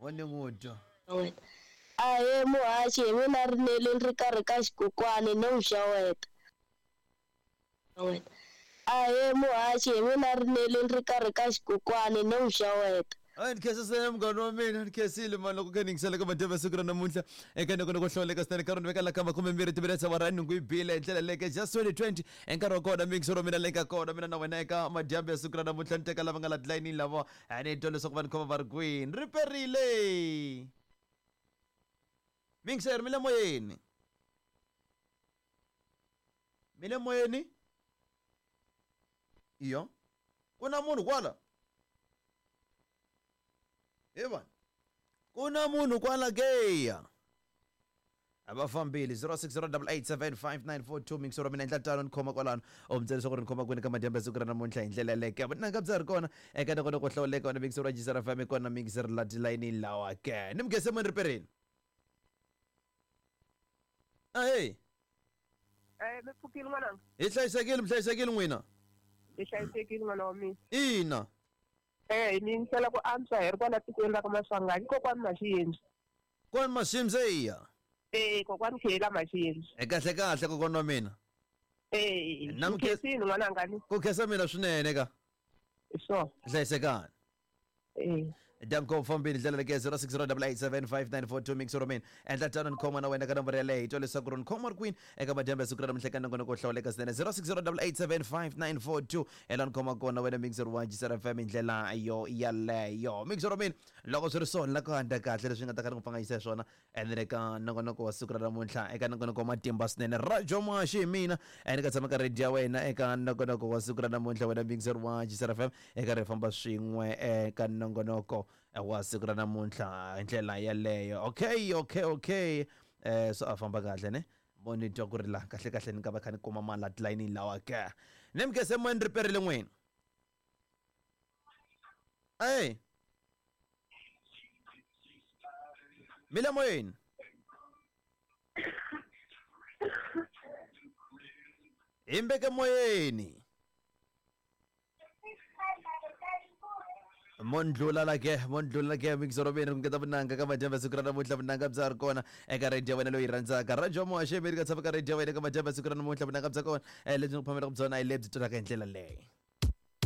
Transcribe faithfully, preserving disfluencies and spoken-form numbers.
Mo ni n'wi twa. Wena. Ahee muhaxi hi mina Rineli ni ri karhi ka xikokwani no n'wi xeweta. Wena. Ahee muhaxi hi mina Rineli ni ri karhi ka xikokwani no n'wi xeweta. A ni khensa swinene munghana wa mina, ni khensile mani loko kha ni yingisela ka madyambu ya siku ra namuntlha eka nongonoko wo hlawuleka swinene. Nkarhi ni veka la ka makume mbirhi timinetse awara ya nhungu yi bile hi ndlela leyo just twenty twenty i nkarhi wa kona miyingiselo wa mina leyi nga kona mina na wena eka madyambu ya siku ra namuntlha. Ni teka lava nga la tilayinini lava a ni twa leswaku va ni khoma va ri kwini. Ri perile miyingiseri, mi le moyeni, mi le moyeni. Iyo ku na munhu kwala Evan, ku na munhu kwala ke ya a va fambile. Zero six zero double eight seven five nine four two mixero mina endla tano ni khoma kwalano u mi byela leswaku ri ni khoma kwini ka madyambu ya siku ra namuntlha hi ndlela yaleyo ke. Vunanga bya ri kona eka nongonoko hlawuleka wena mixero wa G S R F M kona mixero la tilayini lawa ke ni mugese muni riperini. Ahee. Eh, mi pfukile n'wananga? Hi hlayisekile, mi hlayisekile n'wina? Hi hlayisekile n'wana wa mina. Ina. Eh, ni yingisela ku antswa hi ri kwala tikweni ra ka Maswanganyi, kokwani Maxiyendzi. Kwani Maximse iya? Eh, kokwani Khela Maxiyendzi. E kahle kahle kokwana wa mina. Eh, Na ni mukhe- khensile n'wananga ni. Ku khensa mina swinene ka. Hi swona. Hlayisekani. Eh. Danko fambile ndlela leke zero six zero double eight seven five nine four two mixero mina endla tano ni khoma na wena ka nomboro yaleyo hi twa leswaku ri ni khoma ri kwini eka madyambu ya siku ra namuntlha eka nongonoko wo hlawuleka swinene zero six zero double eight seven five nine four two ela ni khoma kona wena mixero wa G S R F M hi ndlela yo yaleyo. Mixero mina loko swi ri swona la ku handla kahle leswi nga ta ka ni ku pfanganyisa hi swona and then eka nongonoko wa siku ra namuntlha eka nongonoko wa matimba swinene Rajo Maxi hi mina and ka tshama ka radio ya wena eka nongonoko wa siku ra namuntlha wena mixero wa G S R F M eka ri famba swin'we eka nongonoko wa siku ra namuntlha hi ndlela yaleyo. Okay, okay, okay, eh so a famba kahle ne mo ni twa ku ri la kahle kahle ni nga va kha ni kuma mali la tilayinini lawa ke ni mugese moyeni riperile n'wina. Ey mi le moyeni hi mbeke moyeni mondlula la ke mondlula ke mixero mina ku ngeta vunanga ka madyambu ya siku ra namuntlha. Vunanga bya ri kona eka radio ya wena loyi rhandzaka Radio Moxa Amerika tshama ka radio ya wena ka madyambu ya siku ra namuntlha. Vunanga bya kona eh, lebyi ni ku phamelaka byona hi lebyi twalaka hi ndlela leyi.